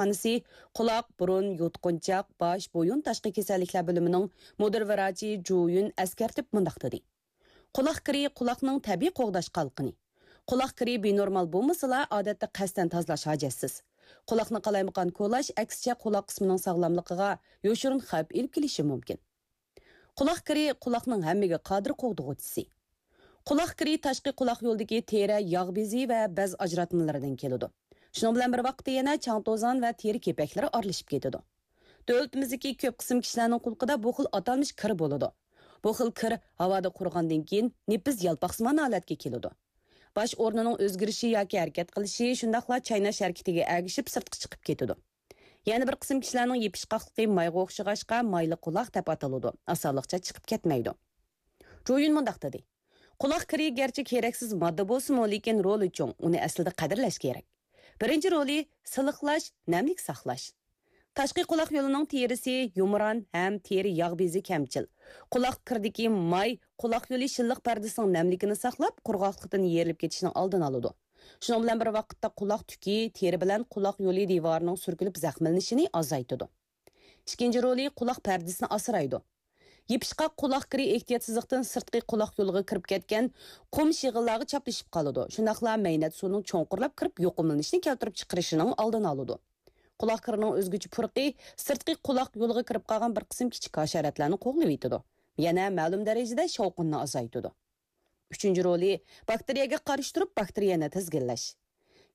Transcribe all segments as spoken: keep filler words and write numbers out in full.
كېسەلخانىسى قۇلاق، بۇرۇن، يۇتقۇنچاق، باش، بويۇن تاشقى كېسەللىكلەر بۆلۈمىنىڭ مۇدىر ۋراچى جۇ يۈن ئەسكەرتىپ مۇنداق دېدى: قۇلاق كىرى قۇلاقنىڭ تەبىئىي قوغداش قالقىنى. قۇلاق كىرى بىنورمال بولمىسىلا، ئادەتتە قەستەن تازىلاش ھاجەتسىز. قۇلاقنى قالايمىقان كولاش، ئەكسىچە، قۇلاق قىسمىنىڭ ساغلاملىقىغا يوشۇرۇن خەۋپ ئېلىپ كېلىشى مۇمكىن. قۇلاق كىرى قۇلاقنىڭ ھەممىگە قادىر قوغدىغۇچىسى. قۇلاق كىرى تاشقى قۇلاق يولىدىكى تېرە، ياغ بېزى ۋە بەز ئاجراتمىلىرىدىن كېلىدۇ. شۇنىڭ بىلەن بىر ۋاقىتتا يەنە چاڭ توزان ۋە تېرە كېپەكلىرى ئارىلىشىپ كېتىدۇ. دۆلىتىمىزدىكى كۆپ قىسىم كىشىلەرنىڭ قۇلىقىدا بۇ خىل ئاتالمىش كىر بولىدۇ. بۇ خىل كىر ھاۋادا قۇرۇغاندىن كېيىن نېپىز يالپاقسىمان ھالەتكە كېلىدۇ. باش ئورنىنىڭ ئۆزگىرىشى ياكى ھەرىكەت قىلىشى، شۇنداقلا چايناش ھەرىكىتىگە ئەگىشىپ سىرتقا چىقىپ كېتىدۇ. يەنە بىر قىسىم كىشىلەرنىڭ يېپىشقاقلىقى مايغا ئوخشىغاچقا، مايلىق قۇلاق دەپ ئاتىلىدۇ، ئاسانلىقچە چىقىپ كەتمەيدۇ. جۇيۈن مۇنداق دېدى: قۇلاق كىرى گەرچە كېرەكسىز ماددا بولسىمۇ، لېكىن رولى چوڭ، ئۇنى ئەسلىدە قەدىرلەش كېرەك. بىرىنچى رولى سىلىقلاش، نەملىك ساقلاش. تاشقى قۇلاق يولىنىڭ تېرىسى يۇمران ھەم تېرە ياغ بېزى كەمچىل. قۇلاق كىرىدىكى ماي قۇلاق يولى شىللىق پەردىسىنىڭ نەملىكىنى ساقلاپ، قۇرغاقلىقتىن يېرىلىپ كېتىشنىڭ ئالدىنى ئالىدۇ. شۇنىڭ بىلەن بىر ۋاقىتتا، قۇلاق تۈكى تېرە بىلەن قۇلاق يولى دىۋارىنىڭ سۈركىلىپ زەخىملىنىشىنى ئازايتىدۇ. ئىككىنچى رولى قۇلاق پەردىسىنى ئاسرايدۇ. يېپىشقاق قۇلاق كىرى ئېھتىياتسىزلىقتىن سىرتقى قۇلاق يولىغا كىرىپ كەتكەن قۇم شېغىللارغا چاپلىشىپ قالىدۇ. شۇنداقلا مەينەت سۇنىڭ چوڭقۇرلاپ كىرىپ يۇقۇملىنىشنى كەلتۈرۈپ چىقىرىشىنىڭ ئالدىنى ئالىدۇ. قۇلاق كىرىنىڭ ئۆزگىچە پۇرىقى سىرتقى قۇلاق يولىغا كىرىپ قالغان بىر قىسىم كىچىك ھاشاراتلارنى قوغلىۋېتىدۇ. يەنە مەلۇم دەرىجىدە شاۋقۇننى ئازايتىدۇ. ئۈچىنچى رولى، باكتېرىيەگە قارشى تۇرۇپ، باكتېرىيەنى تىزگىنلەش.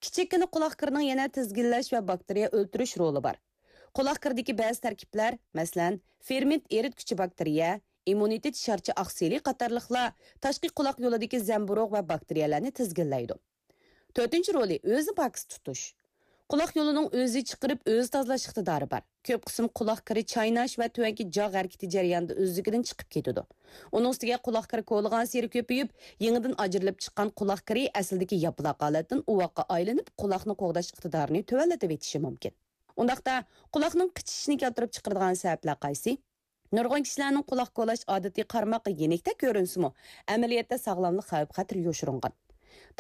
كىچىككىنە قۇلاق كىرىنىڭ يەنە تىزگىنلەش ۋە باكتېرىيە ئۆلتۈرۈش رولى بار. قۇلاق كىرىدىكى بەزى تەركىبلەر، مەسىلەن، فېرمېنت ئېرىتكۈچى باكتېرىيە، ئىممۇنىتېت شارچە ئاقسىلى قاتارلىقلار تاشقى قۇلاق يولىدىكى زەمبۇرۇغ ۋە باكتېرىيەلەرنى تىزگىنلەيدۇ. تۆتىنچى رولى، ئۆزىنى پاكىز تۇتۇش. قۇلاق يولىنىڭ ئۆزى چىقىرىپ، ئۆزى تازىلاش ئىقتىدارى بار. كۆپ قىسىم قۇلاق كىرى چايناش ۋە تۆۋەنكى جاغ ھەرىكىتى جەريانىدا ئۆزلۈكىدىن چىقىپ كېتىدۇ. ئۇنىڭ ئۈستىگە قۇلاق كىرى كولىغانسېرى كۆپىيىپ، يېڭىدىن ئاجرىلىپ چىققان قۇلاق كىرى ئەسلىدىكى ياپىلاق ھالەتتىن ئۇۋاققا ئايلىنىپ، قۇلاقنى قوغداش ئىقتىدارىنى تۆۋەنلىتىۋېتىشى مۇمكىن. ئۇنداقتا، قۇلاقنىڭ قىچىشىشىنى كەلتۈرۈپ چىقىرىدىغان سەۋەبلەر قايسى؟ نۇرغۇن كىشىلەرنىڭ قۇلاق كولاش ئادىتى قارىماققا يېنىكتەك كۆرۈنسىمۇ، ئەمەلىيەتتە ساغلاملىق خەۋپ-خەتىرى يوشۇرۇنغان.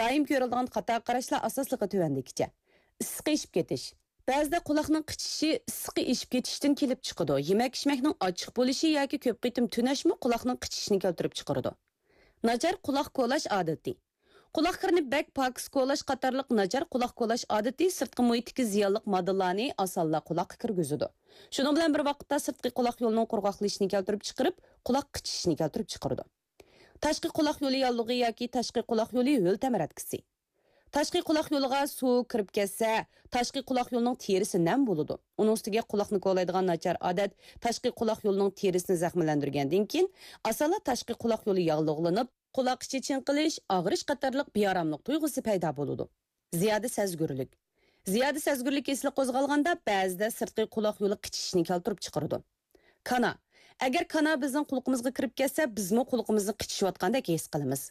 دائىم كۆرۈلىدىغان خاتا قاراشلار ئاساسلىقى تۆۋەندىكىچە: ئىسسىقى ئېشىپ كېتىش. بەزىدە قۇلاقنىڭ قىچىشىشى ئىسسىقى ئېشىپ كېتىشتىن كېلىپ چىقىدۇ. يېمەك-ئىچمەكنىڭ ئاچچىق بولۇشى ياكى كۆپ قېتىم تۈنەشمۇ قۇلاقنىڭ قىچىشىشىنى كەلتۈرۈپ چىقىرىدۇ. ناچار قۇلاق كولاش ئادىتى. قۇلاق كىرىنى بەك پاكىز كولاش قاتارلىق ناچار قۇلاق كولاش ئادىتى سىرتقى مۇھىتتىكى زىيانلىق ماددىلارنى ئاسانلا قۇلاققا كىرگۈزىدۇ. شۇنىڭ بىلەن بىر ۋاقىتتا، سىرتقى قۇلاق يولىنىڭ قۇرغاقلىشىشىنى كەلتۈرۈپ چىقىرىپ، قۇلاق قىچىشىشىنى كەلتۈرۈپ چىقىرىدۇ. تاشقى قۇلاق يولى ياللۇغى ياكى تاشقى قۇلاق يولى ھۆل تەمرەتكىسى. تاشقى قۇلاق يولىغا سۇ كىرىپ كەتسە، تاشقى قۇلاق يولىنىڭ تېرىسى نەم بولىدۇ. ئۇنىڭ ئۈستىگە قۇلاقنى كولايدىغان ناچار ئادەت تاشقى قۇلاق يولىنىڭ تېرىسىنى زەخىملەندۈرگەندىن كېيىن، ئاسانلا تاشقى قۇلاق يولى ياللۇغلىنىپ، قۇلاق ئىچى چىڭقىلىش، ئاغرىش قاتارلىق بىئاراملىق تۇيغۇسى پەيدا بولىدۇ. زىيادە سەزگۈرلۈك. زىيادە سەزگۈرلۈك كېسىلى قوزغالغاندا، بەزىدە سىرتقى قۇلاق يولى قىچىشىشنى كەلتۈرۈپ چىقىرىدۇ. كانا. ئەگەر كانا بىزنىڭ قۇلىقىمىزغا كىرىپ كەتسە، بىزمۇ قۇلىقىمىزنى قىچىشىۋاتقاندەك ھېس قىلىمىز.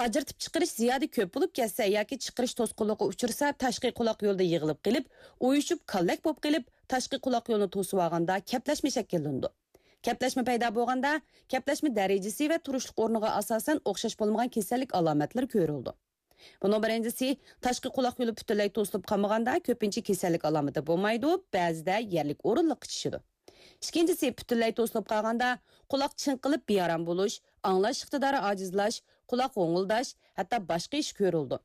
ئاجرىتىپ چىقىرىش زىيادە كۆپ بولۇپ كەتسە ياكى چىقىرىش توسقۇنلۇققا ئۇچرىسا، تاشقى قۇلاق يولىدا يىغىلىپ قېلىپ، ئۇيۇشۇپ، كاللەك بولۇپ قېلىپ، تاشقى قۇلاق يولىنى توسۇۋالغاندا كەپلەشمە شەكىللىنىدۇ. كەپلەشمە پەيدا بولغاندا، كەپلەشمە دەرىجىسى ۋە تۇرۇشلۇق ئورنىغا ئاساسەن ئوخشاش بولمىغان كېسەللىك ئالامەتلىرى كۆرۈلىدۇ. بۇنىڭ بىرىنچىسى، تاشقى قۇلاق يولى پۈتۈنلەي توسۇلۇپ قالمىغاندا، كۆپىنچە كېسەللىك ئالامىتى بولمايدۇ، بەزىدە يەرلىك ئورۇنلۇق قىچىشىدۇ. ئىككىنچىسى، پۈتۈنلەي توسۇلۇپ قالغاندا، قۇلاق چىڭقىلىپ بىئارام بولۇش، ئاڭلاش ئىقتىدارى ئاجىزلاش، قۇلاق غوڭۇلداش، ھەتتا باشقا ئىش كۆرۈلىدۇ.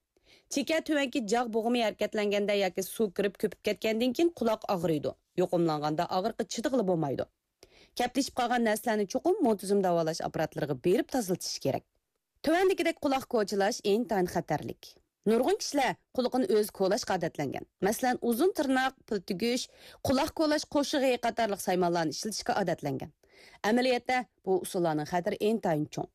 چېكە تۆۋەنكى جاغ بوغۇمى ھەرىكەتلەنگەندە ياكى سۇ كىرىپ كۆپۈپ كەتكەندىن كېيىن قۇلاق ئاغرىيدۇ. يۇقۇملانغاندا ئاغرىققا چىدىغىلى بولمايدۇ. كەپلىشىپ قالغان نەرسىلەرنى چوقۇم مۇنتىزىم داۋالاش ئاپپاراتلىرىغا بېرىپ تازىلىتىش كېرەك. تۆۋەندىكىدەك قۇلاق كوچىلاش ئىنتايىن خەتەرلىك. نۇرغۇن كىشىلەر قۇلىقىنى ئۆزى كولاشقا ئادەتلەنگەن. مەسىلەن، ئۇزۇن تىرناق، پىل تۈگۈش، قۇلاق كولاش قوشۇقى قاتارلىق سايمانلارنى ئىشلىتىشكە ئادەتلەنگەن. ئەمەلىيەتتە، بۇ ئۇسۇللارنىڭ خەتىرى ئىنتايىن چوڭ.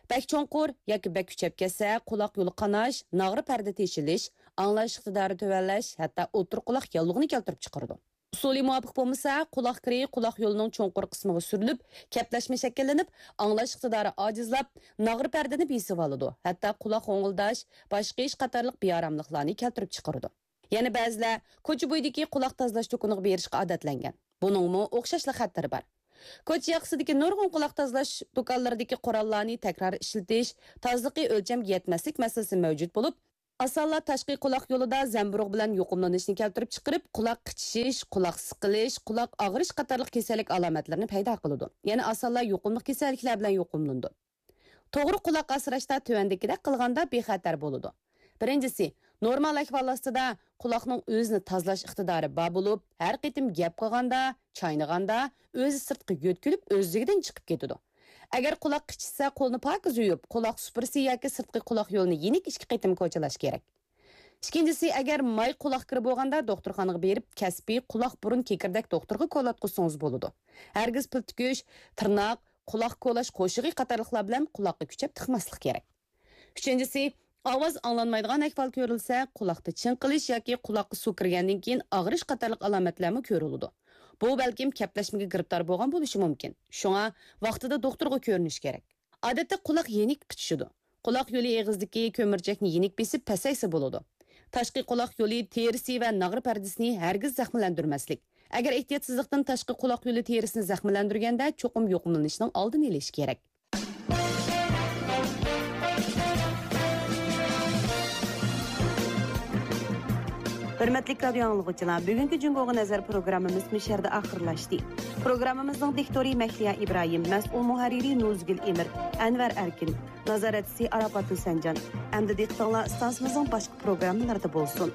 بەك چوڭقۇر ياكى بەك كۈچەپ كەتسە، قۇلاق يولى قاناش، ناغرا پەردە تېشىلىش، ئاڭلاش ئىقتىدارى تۆۋەنلەش، ھەتتا ئوتتۇرا قۇلاق ياللۇغىنى كەلتۈرۈپ چىقىرىدۇ. ئۇسۇلى مۇۋاپىق بولمىسا، قۇلاق كىرى قۇلاق يولىنىڭ چوڭقۇر قىسمىغا سۈرۈلۈپ، كەپلەشمە شەكىللىنىپ، ئاڭلاش ئىقتىدارى ئاجىزلاپ، ناغرا پەردىنى بېسىۋالىدۇ، ھەتتا قۇلاق غوڭۇلداش، باش قېيىش قاتارلىق بىئاراملىقلارنى كەلتۈرۈپ چىقىرىدۇ. يەنە بەزىلەر كوچا بويىدىكى قۇلاق تازىلاش دۇكىنىغا بېرىشقا ئادەتلەنگەن. بۇنىڭمۇ ئوخشاشلا خەتىرى بار. كوچا ياقىسىدىكى نۇرغۇن قۇلاق تازىلاش دۇكانلىرىدىكى قوراللارنى تەكرار ئىشلىتىش، تازىلىقى ئۆلچەمگە يەتمەسلىك مەسىلىسى مەۋجۇت بولۇپ، ئاسانلا تاشقى قۇلاق يولىدا زەمبۇرۇغ بىلەن يۇقۇملىنىشنى كەلتۈرۈپ چىقىرىپ، قۇلاق قىچىشىش، قۇلاق سىقىلىش، قۇلاق ئاغرىش قاتارلىق كېسەللىك ئالامەتلىرىنى پەيدا قىلىدۇ. يەنە ئاسانلا يۇقۇملۇق كېسەللىكلەر بىلەن يۇقۇملىنىدۇ. توغرا قۇلاق ئاسراشتا تۆۋەندىكىدەك قىلغاندا بىخەتەر بولىدۇ. بىرىنچىسى، نورمال ئەھۋال ئاستىدا قۇلاقنىڭ ئۆزىنى تازىلاش ئىقتىدارى بار بولۇپ، ھەر قېتىم گەپ قىلغاندا، چاينىغاندا، ئۆزى سىرتقا يۆتكىلىپ، ئۆزلۈكىدىن چىقىپ كېتىدۇ. ئەگەر قۇلاق قىچىشسا، قولنى پاكىز يۇيۇپ، قۇلاق سۇپرىسى ياكى سىرتقى قۇلاق يولىنى يېنىك ئىككى قېتىم كوچىلاش كېرەك. ئىككىنچىسى، ئەگەر ماي قۇلاق كىرى بولغاندا، دوختۇرخانىغا بېرىپ، كەسپىي قۇلاق بۇرۇن كېكىردەك دوختۇرغا كولاتقۇزسىڭىز بولىدۇ. ھەرگىز پىل تۈكۈش، تىرناق، قۇلاق كولاش قوشۇقى قاتارلىقلار بىلەن قۇلاققا كۈچەپ تىقماسلىق كېرەك. ئۈچىنچىسى، ئاۋاز ئاڭلانمايدىغان ئەھۋال كۆرۈلسە، قۇلاقتا چىڭقىلىش ياكى قۇلاققا سۇ كىرگەندىن كېيىن ئاغرىش قاتارلىق ئالامەتلەرمۇ كۆرۈلىدۇ. بۇ بەلكىم كەپلەشمىگە گىرىپتار بولغان بولۇشى مۇمكىن. شۇڭا ۋاقتىدا دوختۇرغا كۆرۈنۈش كېرەك. ئادەتتە قۇلاق يېنىك قىچىشىدۇ. قۇلاق يولى ئېغىزىدىكى كۆمۈرچەكنى يېنىك بېسىپ پەسەيسە بولىدۇ. تاشقى قۇلاق يولى تېرىسى ۋە ناغرا پەردىسىنى ھەرگىز زەخىملەندۈرمەسلىك. ئەگەر ئېھتىياتسىزلىقتىن تاشقى قۇلاق يولى تېرىسىنى زەخىملەندۈرگەندە، چوقۇم يۇقۇملىنىشنىڭ ئالدىنى ئېلىش كېرەك. ھۆرمەتلىك رادىيو ئاڭلىغۇچىلار، بۈگۈنكى جۇڭگوغا نەزەر پروگراممىمىز مۇشۇ يەردە ئاخىرلاشتى. پروگراممىمىزنىڭ دىكتورى مەھلىيا ئىبراھىم، مەسئۇل مۇھەررىرى نۇزگۈل ئېمىر، ئەنۋەر ئەركىن، نازارەتچىسى ئاراپات ھۈسەنجان. ئەمدى دىققىتىڭلار ئىستانسىمىزنىڭ باشقا پروگراممىلىرىدا بولسۇن.